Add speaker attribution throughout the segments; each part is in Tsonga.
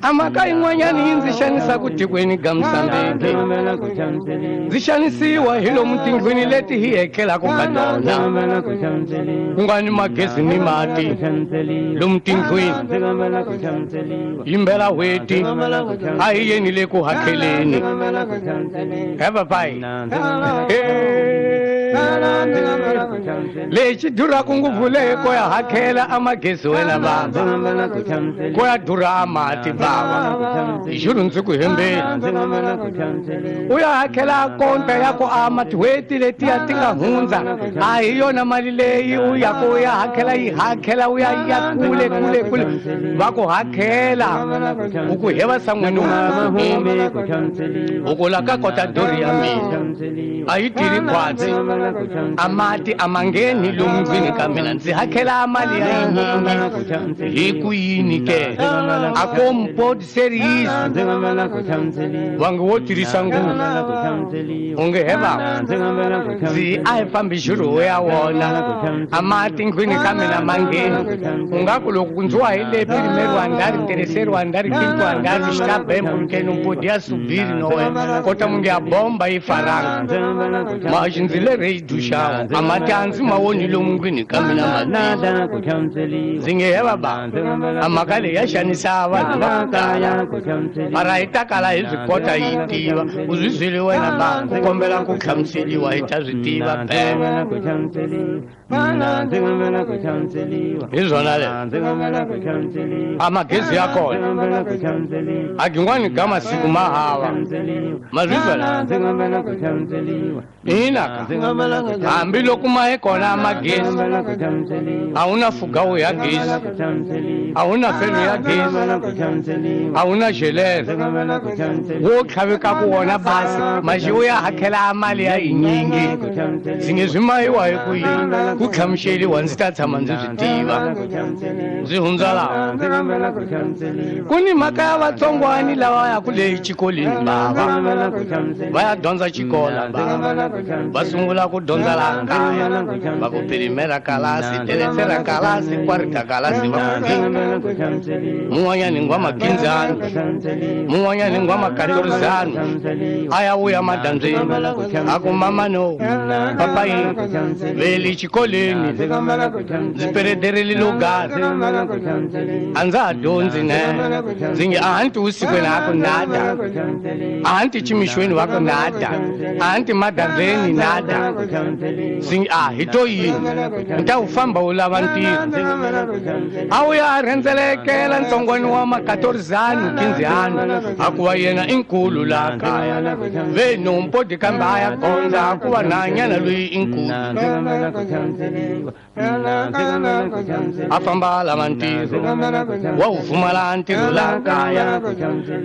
Speaker 1: A mhaka yin'wanyana yi ndzi xanisaka tikweni ga Musambiki. Ndzi xanisiwa hi lomu tindlwini leti hi hekelaka ka tona. Ku nga ni magezi ni mati lomu tindlwini. Yimbela hweti a hi yeni le ku hakeleni. He papayi. Lexi duraka ngopfu leyi ko ya hakela a magezi wena baba. Ko ya durha a mati baba. Hi xurhu ndzi ku hembeni. U ya hakela konta ya ku a matihweti letiya ti nga hundza. A hi yona mali leyi u ya ku ya hakela yi hakela u ya ya kule kule kule va ku hakela u ku heva san'wini u ku la ka kota dori ya mina a yi tirhi khwatsi a mati a ma ngheni lomu ndlwini ka mina ndzi hakela mali ya yinyingi hi ku yini ke a ko mpoti seriyiso va nge wo tirhisa ngopfu onge he baba ndzi a hi fambi xirho ya wona a mati ndlwini ka mina ma ngheni u nga ku loko ndzi wa hi le primero andar tercero andar quinto andar está bem porque não podia subir não é kota munge a bomba yi faranga maxi ndzi le rei duxawu a mati a ndzi ma woni lomu ndlwini ka mina mati ndzi nge he baba a mhaka leyi ya xanisa vanhu va ku tala mara hi ta kala hi swi kota yi tiva u swi byeli wena ba ku kombela ku hlamuseliwa hi ta swi tiva phela hi swona leswi a magezi ya kona a gin'wani ga masiku ma hava ma swi twela ina ka hambiloko ma ye kona magezi a wu na fugawu ya gezi a wu na felo ya gezi a wu na xelelo wo tlhavekaku wona basi maxi wu ya hakela mali ya yinyingi ndzi nge swi mayiwa hi ku yini ku hlamuseliwa ndzi ta tshama ndzi swi tiva ndzi hundza laha ku ni mhaka ya vatsongwani lava yaku le xikolweni bava va ya dyondza xikola bava va sungula ku dyondza laha kaya va ku pirimera kalasi teretsera kalasi kwarita kalasi va ku mun'wanyani ngwa makinzani mun'wanyani ngwa makatorizani a ya vuya madyambyeni a ku mama no papayi veli xikolweni ndzi peredereli logasi a ndza ha dyondzi ne ndzi nge a hanti vusikwini a ku nada a hanti chimixweni va ku nada a hanti madyambyeni nada ndzi nge a hi to yini ni ta wu famba wu lava ntirho a wu ya a rhendzelekela ntsongwani wa makatorizani kinzihani a ku va yena i nkulu laha kaya ve nompodi kambe a ya gondza a ku va nhanyana loyi i nkulu a famba a lava ntirho wa wu pfumala ntirho laha kaya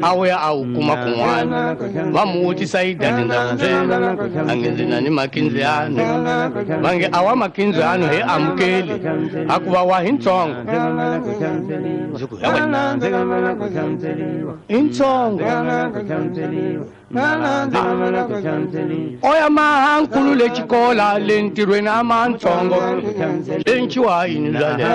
Speaker 1: a wu ya a wu kuma kun'wana va mu vutisa yi dati ndza ku byela a nge ndzi na ni makinzihani va nge a wa makinzihani hi amukeli a ku va wa hi ntsongo ndzi ku he wena i ntsongo o ya mahankulu le xikola le ntirhweni a mantsongo lenciwa yini bya le.